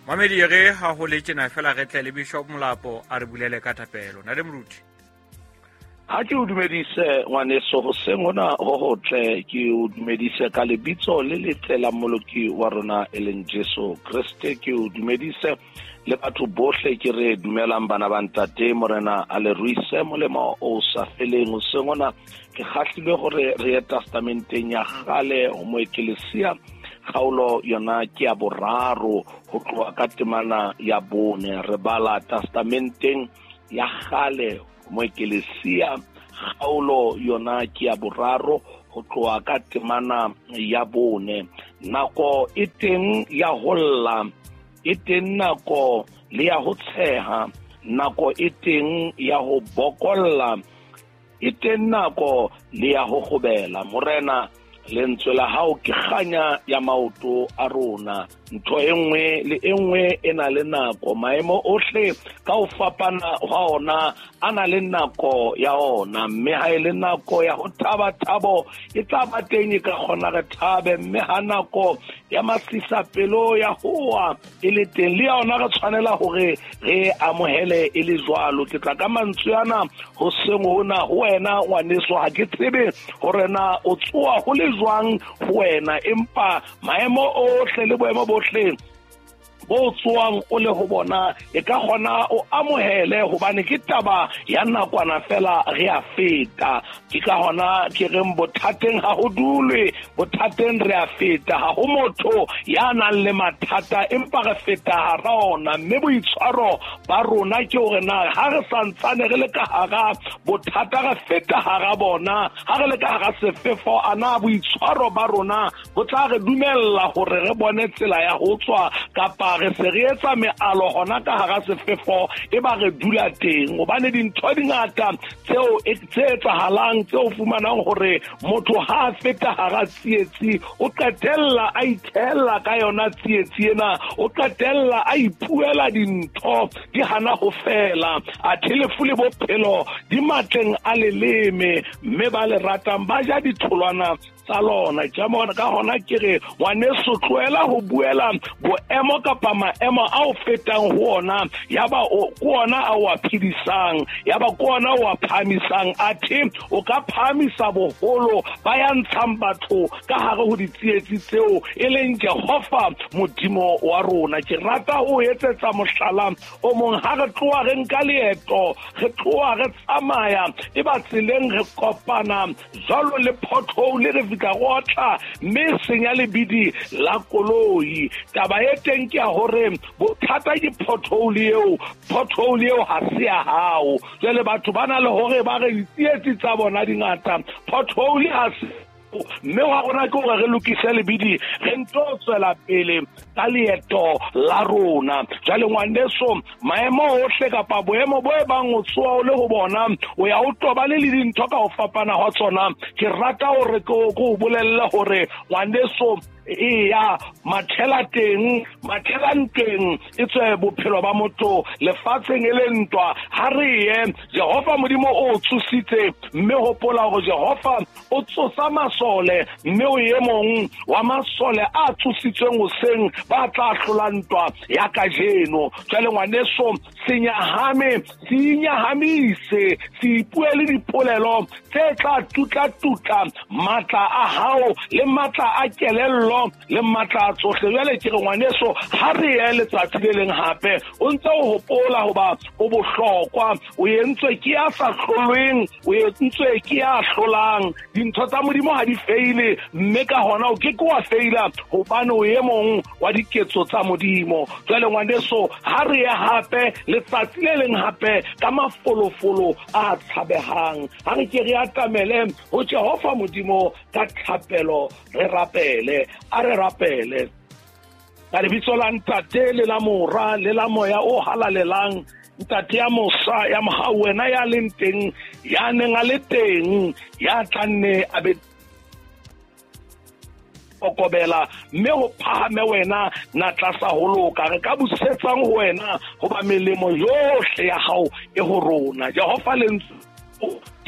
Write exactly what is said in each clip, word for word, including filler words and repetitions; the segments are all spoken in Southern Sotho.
Mamedi re ha ho le tjena fela re tle le Bishop Molapo a re bulele ka thapelo. Na le moruti. Ha ke o dumedise ngwaneso hoseng hona ho hotle, ke o dumedise ka lebitso le letle la Mmoloki wa rona e leng Jesu Kreste. Ke o dumedise le batho bohle, ke re dumelang bana ba ntate, Morena a le ruise molemo o sa feleng. Hoseng hona ke kgahlilwe hore re ye testamenteng ya kgale ho Moekelesia, kgaolo yona ke ya boraro ho tloha ka temana ya bone. Re bala testamenteng ya kgale Moekelesia, kgaolo yona ke ya boraro ho tloha ka temana ya bone. Nako e teng ya ho lla, e teng nako le ya ho tsheha, nako e teng ya ho bokolla, e teng nako le ya ho kgobela. Morena, lentswe la hao ke kganya ya maoto a rona. Ntho e nngwe le e nngwe e na le nako, maemo ohle ka ho fapana hwa ona a na le nako ya ona. Mme ha e le nako ya ho thaba, thabo e tla ba teng, e ka kgona re thabe. Mme ha nako ya masisapelo ya hoa e le teng, le yona re tshwanela hore re amohele e le jwalo. Ke tla ka mantswe ana hoseng hona ho wena ngwaneso, ha ke tsebe hore na o tsoa ho le jwang ho wena, empa maemo ohle le boemo bohle bo tsoang o le ho bona e ka kgona o amohele, hobane ke taba ya nakwana fela, re a feta. Ke ka hona ke reng bothateng ha ho dulwe, bothateng re a feta. Ha ho motho ya nang le mathata, empa re feta hara ona. Mme boitshwaro ba rona ke hore na ha re santsane re le ka hara bothata, re feta hara bona. Ha re le ka hara sefefo, ana boitshwaro ba rona bo tla re dumella hore re bone tsela ya ho tswa, kapa re se re etsa mealo hona ka hara sefefo e ba re dula teng. Hobane dintho di ngata tseo tse etsahalang, tseo fumanang hore motho ha a feta hara tsietsi o qetella a ithella ka yona tsietsi ena, o qetella a ipuela dintho di hana ho fela. Athe lefu le bophelo di matleng a leleme, mme ba le ratang ba ja ditholwana tsa lona. Ka hona ke re ngwaneso, tlohela ho buela boemo kapa maemo a o fetang ho ona, ya ba o ke ona a o a phedisang, ya ba ke ona o a phahamisang. Athe o ka phahamisa boholo ba ya ntshang batho ka hare ho ditsietsi tseo e leng Jehova Modimo wa rona. Ke rata ho etsetsa mohlala o mong. Ha re tloha re nka leeto, re tloha re tsamaya, e ba tseleng re kopana jwalo le pothole, re fihla re otla mme senya lebidi la koloi. Taba e teng ke ya hore bothata ke pothole eo, pothole eo ha se ya hao. Jwale batho ba na le hore ba re ditsietsi tsa bona di ngata, pothole ha se, mme wa rona ke hore re lokise lebidi, re nto tswela pele ka leeto la rona. Jwale ngwaneso, maemo ohle kapa boemo bo e bang o tsoa o le ho bona, o ya o tobane le dintho ka ho fapana hwa tsona. Ke rata hore ke o bolelle hore ngwaneso, eya mathela teng, mathela ntweng e tswe bophelo ba motho lefatsheng e le ntwa. Ha re ye, Jehova Modimo o tsositse, mme hopola hore Jehova o tsosa masole, mme o e mong wa masole a tsositsweng hoseng ba tla hlola ntwa ya kajeno. Jwale ngwaneso, se nyahame, se inyahamise, se ipuele dipolelo tse tla tutla-tutla matla a hao le matla a kelello le matla a tsohle. Jwale ke re ngwaneso, ha re ye letsatsi le leng hape o ntse o hopola hoba o bohlokwa, o entswe ke ya sa hlolweng, o entswe ke ya hlolang. Dintho tsa Modimo ha di feile, mme ka hona o ke ke wa feila, hobane o e mong wa diketso tsa Modimo. Jwale ngwaneso, ha re ye hape letsatsi le leng hape ka mafolofolo a tshabehang. Ha re ke re atamele ho Jehova Modimo ka thapelo, re rapele. A re rapele ka lebitso la Ntate le la Mora le la Moya o halalelang. Ntate ya mosa ya mohau, wena ya leng teng, ya neng a le teng, ya tla nne a be kokobela, mme ho phahame wena na tlasa ho loka. Re ka busetsang ho wena, hoba melemo yohle ya hao e ho rona. Jehova lentswe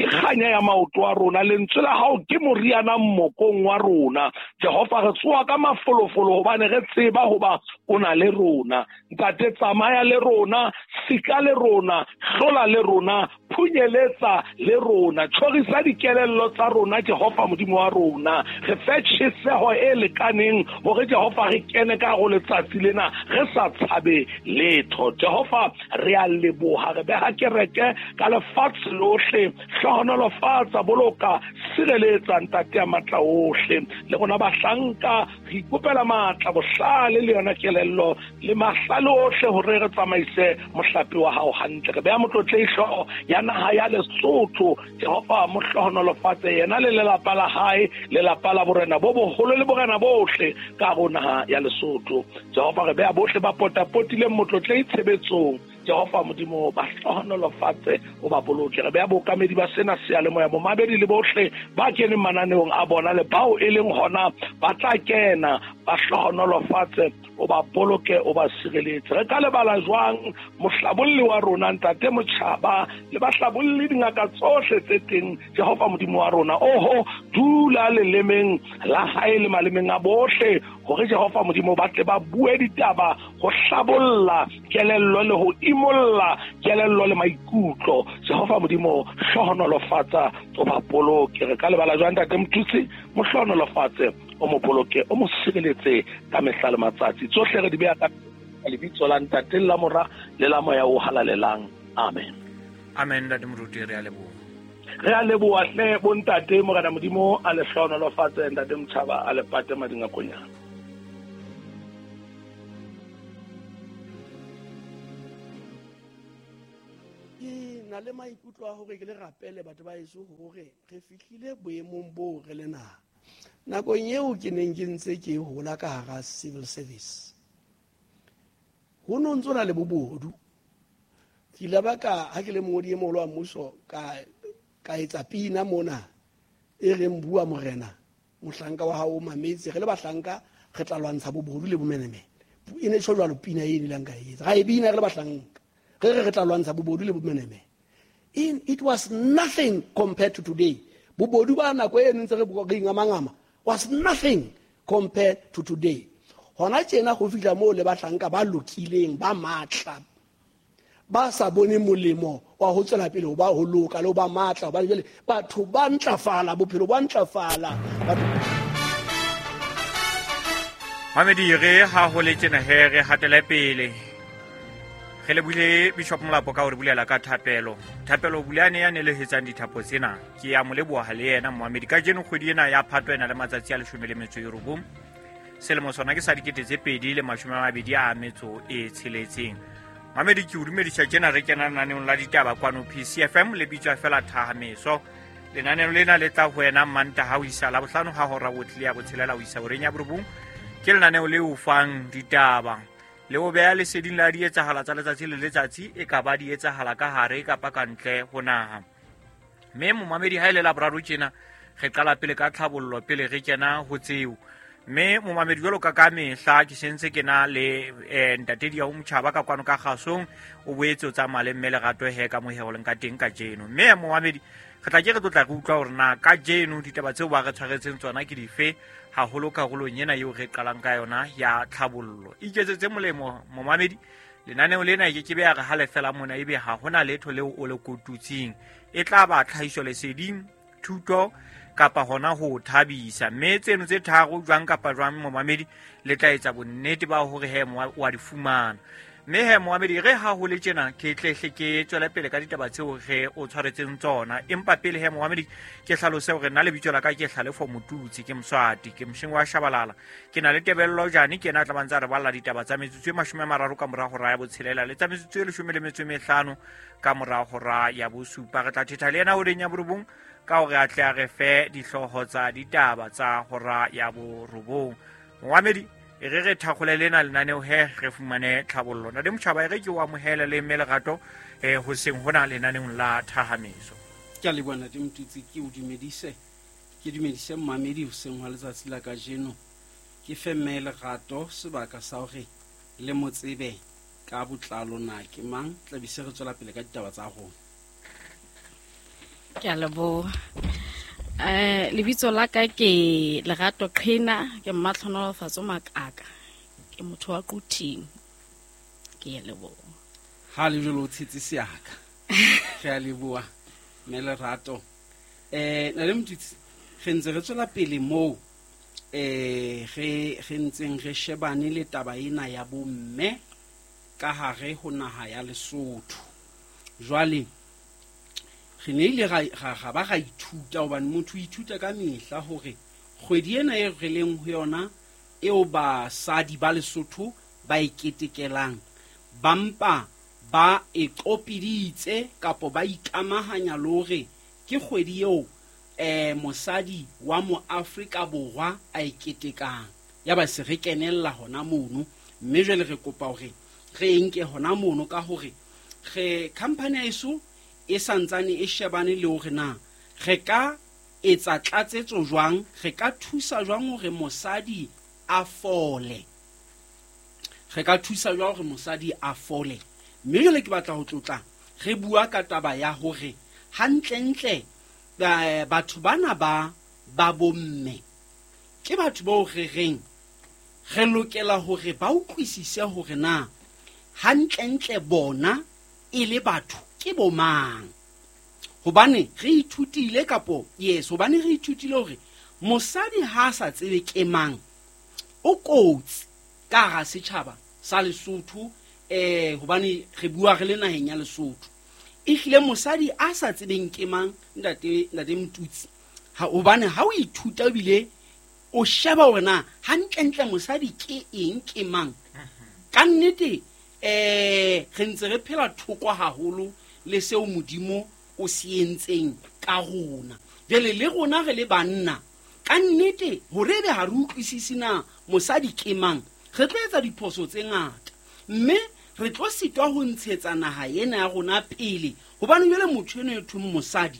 ke kganya ya maoto a rona, lentswe la hao ke moriana mmokong wa rona. Jehova, re tsoha ka mafolofolo hobane re tseba hoba o na le rona. Ntate, tsamaya le rona, sika le rona, hlola le rona, phunyeletsa le rona, tjhorisa dikelello tsa rona Jehova Modimo wa rona. Re fe tjheseho e lekaneng hore Jehova re kene ka go letsatsi lena re sa tshabe letho. Jehova, re a leboha, re beha kereke ka lefatshe lohle. Hlohonolofatsa, boloka, sireletsa Ntate ya matla ohle. Le rona bahlanka re ikopela matla, bohlale le yona kelello le mahlale ohle hore re tsamaise mohlape wa hao hantle. Re beha motlotlehi hlooho ya naha ya Lesotho, Jehova mo hlohonolofatse yena le lelapa la hae, lelapa la borena bo boholo le borena bohle ka ho naha ya Lesotho. Jehova, re beha bohle ba potapotileng motlotlehi tshebetsong. Jehova Modimo, ba hlohonolofatse, o ba boloke. Re beha bookamedi ba sena seyalemoya, bomamedi le bohle ba keneng mananeong a bona le bao e leng hona ba tla kena, ba hlohonolofatse, o ba boloke, o ba sireletse. Re ka lebala jwang mohlabolli wa rona Ntate Motjhaba le bahlabolli dingaka tsohle tse teng, Jehova Modimo wa rona. Oho, dula lelemeng la hae le malemeng a bohle hore Jehova Modimo ba tle ba bue ditaba ho hlabolla kelello le ho imolla kelello le maikutlo. Jehova Modimo, hlohonolofatsa, o ba boloke. Re ka lebala jwang Ntate Mothusi? Mo hlohonolofatse, o mo boloke, o mo sireletse ka mehla le matsatsi. Tsohle re di beha ka lebitso la Ntate, la Mora le la Moya o Halalelang. Amen. Amen. Ntate Moruti, re a leboha. Re a leboha hle bontate. Morena Modimo a le hlohonolofatse. Ntate Motjhaba a le pate madingakonyana. Ke na le maikutlo a hore ke le rapele batho ba heso hore re fihlile boemong boo re le naha. Nakong eo ke neng ke ntse ke hola ka hara civil service, ho no ntso na le bobodu. Ke ile ba ka ha ke le mongodi e moholo wa mmuso ka ka etsa pina mona e reng bua morena mohlanka wa hao o mametse, re le bahlanka re tla lwantsha bobodu le bomenemene. E ne tjho jwalo pina e nilang ka etsa, ra e bina re le bahlanka, re re re tla lwantsha bobodu le bomenemene. In it was nothing compared to today. Bobodu ba nako e ntse re re ingamangama was nothing compared to today. Hona tjena go fihla moo le bahlanka ba lokileng ba matla ba sa bone molemo wa ho tswela pele ho ba ho loka le ho ba matla, hobane jwale batho ba ntlafala, bophelo ba ntlafala. Mamedi, re ha ho le tjena he re hatele pele. Re lebohile Bishop Molapo ka hore bulela ka thapelo. Thapelo Bulane ya nelehetsang dithapo tsena. Ke ya mo leboha le yena momamedi. Kajeno kgwedi ena ya Phato ena le matsatsi a leshome le metso e robong. Selemo sona ke sa dikete tse pedi le mashome a mabedi a metso e tsheletseng. Mamedi, ke o dumedisa tjena re kena lenaneong la ditaba kwano P C F M le bitswa fela Thahameso. Lenaneo lena le tla ho wena Mantaha ho isa Labohlano ha hora botle ya botshelela ho isa horeng ya borobong. Ke lenaneo le o fang ditaba le o beha leseding la dietsahala tsa letsatsi le letsatsi, e ka ba di etsahala ka hare kapa ka ntle ho naha. Mme momamedi, ha e le Laboraro tjena re qala pele ka tlhabollo pele re kena ho tseo. Mme momamedi, jwalo ka ka mehla ke sentse ke na le eh, Ntate Diau Motjhaba ka kwano ka kgasong, o boetse o tsamaya le mme Lerato he ka mohego leng ka teng kajeno. Mme momamedi, re tla ke re tlotla re utlwa hore na kajeno ditaba tseo ba re tshwaretseng tsona ke dife, haholo karolong ena eo re qalang ka yona ya tlhabollo. Iketsetse molemo momamedi, lenaneo lena e ke ke be ya re ha le fela mona ebe ha hona letho leo o le kotutseng. E tla ba tlhahiso leseding, thuto kapa hona ho thabisa. Mme tseno tse tharo jwang kapa jwang momamedi le tla etsa bonnete ba hore he wa di fumana. Mme he momamedi, re ha ho le tjena ke tlehle ke tswele pele ka ditaba tseo re o tshwaretseng tsona. Empa pele he momamedi ke hlalose hore nna lebitso la ka ke Hlalefo Motutsi, ke Moswati, ke mosheng wa Shabalala. Ke na le Tebello Jane, ke yena a tla ba ntse a re balla ditaba tsa metsotso e mashome a mararo ka mora hora ya botshelela le tsa metsotso e leshome le metso e mehlano ka mora hora ya bosupa. Re tla thetha le yena horeng ya borobong ka hore a tle a re fe dihlooho tsa ditaba tsa hora ya borobong. Momamedi, e re re thakgole lena lenaneo he re fumane tlhabollo. Ntate Motjhaba, e re ke o amohele le mme Lerato eh hoseng hona lenaneong la Thahameso. Ke a leboha Ntate Motutsi, ke o dumedise, ke dumedise mmamedi hoseng hwa letsatsi la kajeno. Ke fe mme Lerato sebaka sa hore le mo tsebe ka botlalo na ke mang, tla be se re tswela pele ka ditaba tsa rona. Ke a leboha. Eh lebitso la ka ke Lerato Qhena, ke Mmatlhonolofatso Makaka. Ke motho wa Quthing. Ke a leboha. Ha le jolo tshitse seaka. Ke a leboha mme Lerato. Eh na le Motutsi re ntse re tswela pele moo eh re re ntseng re shebane le taba ena ya bomme ka hare ho naha ya Lesotho. Jwale re ne ile ra ra ba ra ithuta hobane motho o ithuta ka mehla hore kgwedi ena e re leng ho yona eo basadi ba Lesotho ba e ketekelang ba mpa ba e qopiditse kapo ba ikamahanya le hore ke kgwedi eo eh mosadi wa mo Afrika Borwa a e ketekang. Ya ba se re kenella hona mono, mme jwale re kopa hore re nke hona mono ka hore re company ya eso e santsane e shebane le hore na re ka etsa tlatsetso jwang, re ka thusa jwang hore mosadi a fole, re ka thusa jwang hore mosadi a fole. Mme jwale ke batla ho tlotla re bua ka taba ya hore hantlentle batho bana ba ba bomme ke batho bao re reng re lokela hore ba utlwisise hore na hantlentle bona e le batho ke bo mang. Hobane re ithutile kapo yes hobane re ithutile hore mosadi ha a sa tsebe ke mang o kotsi ka hara setjhaba sa Lesotho. Eh hobane re bua re le naheng ya Lesotho, ehlile mosadi a sa tsebeng ke mang ntate ntate Motutsi, ha hobane ha o ithuta ebile o sheba hore na hantlentle mosadi ke eng ke mang, ka nnete eh re ntse re phela thoko haholo le seo Modimo o se entseng ka rona. Jwale le rona re le banna ka nnete hore ebe ha re utlwisisi na mosadi ke mang, re tlo etsa diphoso tse ngata mme re tlo sitwa ho ntshetsa naha ena ya rona pele. Hobane jwale motho eno e thong mosadi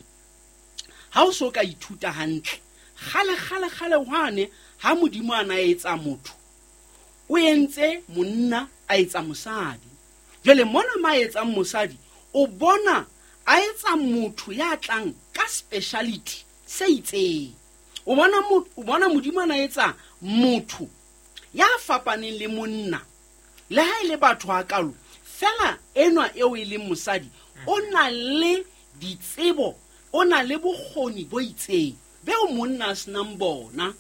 ha o so ka ithuta hantle kgale kgale kgale hwane ha Modimo a na etsa motho o entse monna a etsa mosadi. Jwale mona ma etsang mosadi o bona a etsa motho ya tlang ka speciality se itseng. O bona o bona Modimo a na etsa motho ya fapaneng le monna le ha ile batho a kalo fela enwa eo e leng mosadi o na le ditsebo, o na le bokgoni bo itseng beo monna a senang bona.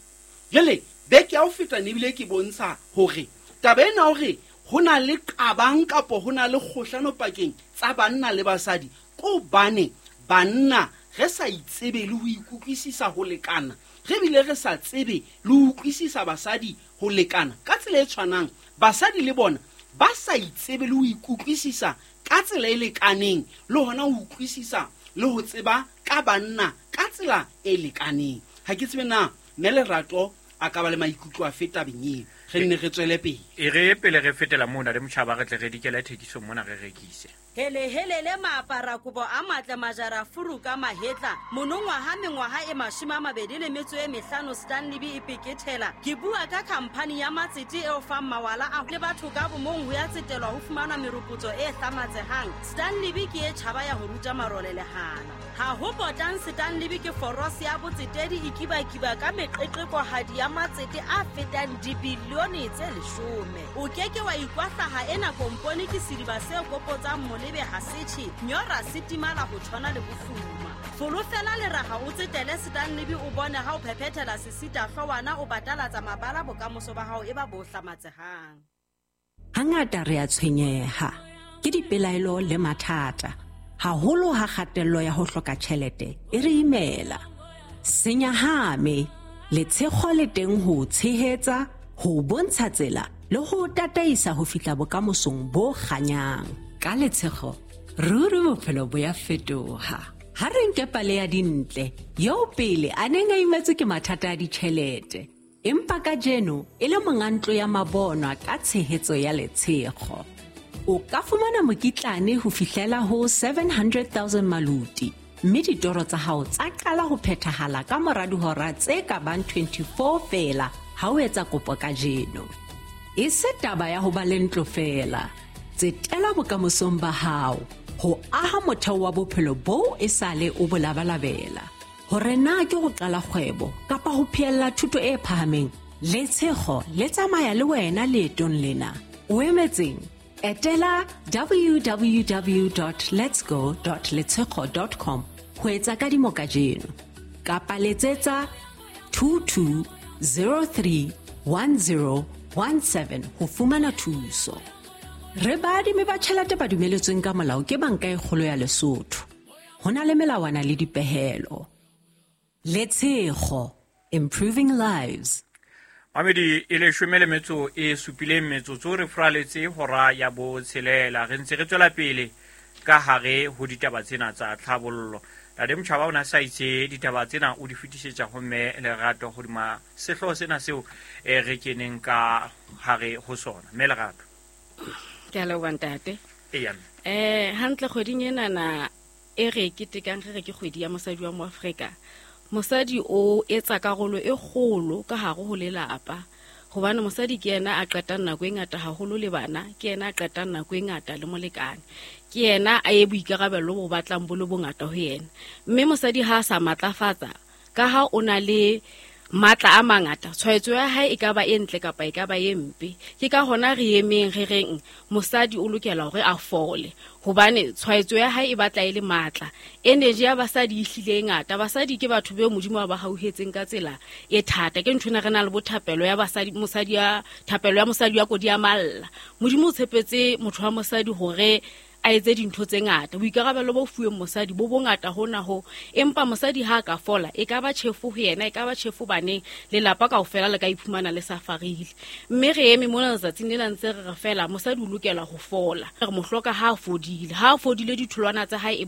Jwale beke ya ho feta ne ebile ke bontsha hore taba ena hore ho na le qabang kapo ho na le kgohlano pakeng tsa banna le basadi ke hobane banna re sa itsebe le ho ikutlwisisa ho lekana, re bile re sa tsebe le ho utlwisisa basadi ho lekana. Ka tsela e tshwanang basadi le bona ba sa itsebe le ho ikutlwisisa ka tsela e lekaneng le hona ho utlwisisa le ho tseba ka banna ka tsela e lekaneng. Ha ke tsebe na mme Lerato a ka ba le maikutlo a feta tabeng eo, re nne re tswele pele. E re pele re fetela mona le motjhaba re tle re dikela thekiso mona re rekise. Hele hele le maapara kobo a matle majara furu ka mahetla monongwaha mengwaha e mashome a mabedi le metso e mehlano Stanley B e pekethela. Ke bua ka khamphani ya matsete eo fang mawala a le batho ka bomong ho ya tsetelwa ho fumana meropotso e hlamatsehang. Stanley B ke e tjhaba ya ho ruta marole lehana. Ha ho potang Stanley B ke forosi ya botsetedi e kibakiba ka meqeqekohadi ya matsete a fetang dibilione tse leshome. O keke wa ikwahlaha ena kompone ke sediba se kopotsang molebe ha setjhe nyora setimala ho tshwana le bofuma. Folofela le raha o tsetele Stanley B o bone ha o phephethela sesita hlwana o batalatsa mabala bokamoso ba hao e ba bo hlamatsehang. Hangata re a tshwenyeha ke dipelaelo le mathata, haholo ha kgatello ya ho hloka tjhelete e re imela. Senyahame letshego le teng ho tshehetsa, ho bontsha tsela le ho tataisa ho fihla bokamosong bo kganyang. Ka letshego ruri bophelo bo ya fetoha. Ha re nke pale ya Dintle eo pele a neng a imetswe ke mathata a ditjhelete, empa kajeno e le monga ntlo ya mabonwa ka tshehetso ya letshego. O ka fumana mokitlane ho fihlela ho seven hundred thousand maluti, mme ditoro tsa hao tsa qala ho phethahala ka mora dihora tse ka bang twenty-four feela ha o etsa kopo kajeno. E se taba ya ho ba le ntlo feela, tsetela bokamosong ba hao Ho aha motheo wa bophelo boo e sale o bo labalabela. Hore na ke ho qala kgwebo kapa ho phehella thuto e phahameng, Letshego le tsamaya le wena leetong lena. O emetseng? Etela w w w dot letsgo dot letshego dot com ho etsa kadimo kajeno. Kapa letsetsa two two zero three one zero one seven ho fumana thuso. Re baadimi ba tjhelete ba dumeletsweng ka molao ke Banka e Kgolo ya Lesotho. Ho na le melawana le dipehelo. Letshego, improving lives. Mamedi e leshome le metso e supileng metsotso re furaletse hora ya botshelela. Re ntse re tswela pele ka hare ho ditaba tsena tsa tlhabollo. Ntate Motjhaba o na sa itse ditaba tsena o di fetisetsa ho mme Lerato hodima sehlooho sena seo e re keneng ka hare ho sona. Mme Lerato. Ke a leboha ntate. Eya. Eh hantle kgweding ena na e re ketekang re re ke kgwedi ya mosadi wa Moafrika. Mosadi o etsa karolo e kgolo ka hare ho lelapa. Hobane mosadi ke yena a qetang nako e ngata haholo le bana, ke yena a qetang nako e ngata le molekane. Ke yena a ye boikarabelo bo batlang bo le bongata ho yena. Mme mosadi ha a sa matlafatsa, ka ha o na le matla a mangata, tshwaetso ya hae e ka ba e ntle kapa e ka ba e mpe. Ke ka hona re emeng re reng mosadi o lokela hore a fole, hobane tshwaetso ya hae e batla e le matla. Energy ya basadi e hlile e ngata. Basadi ke batho beo Modimo a ba hauhetseng ka tsela e thata. Ke nthwena re na le bothapelo ya basadi, mosadi ya thapelo ya mosadi ya kodi ya malla. Modimo o tshepetse motho wa mosadi hore a etse dintho tse ngata. Boikarabelo bo fuweng mosadi bo bongata hona ho, empa mosadi ha ka fola e ka ba tjhefo ho yena, e ka ba tjhefo baneng, lelapa kaofela le ka iphumana le safarile. Mme re eme mona letsatsing lena ntse re re fela mosadi o lokela ho fola. Re mo hloka ha a fodile. Ha a fodile ditholwana tsa hae e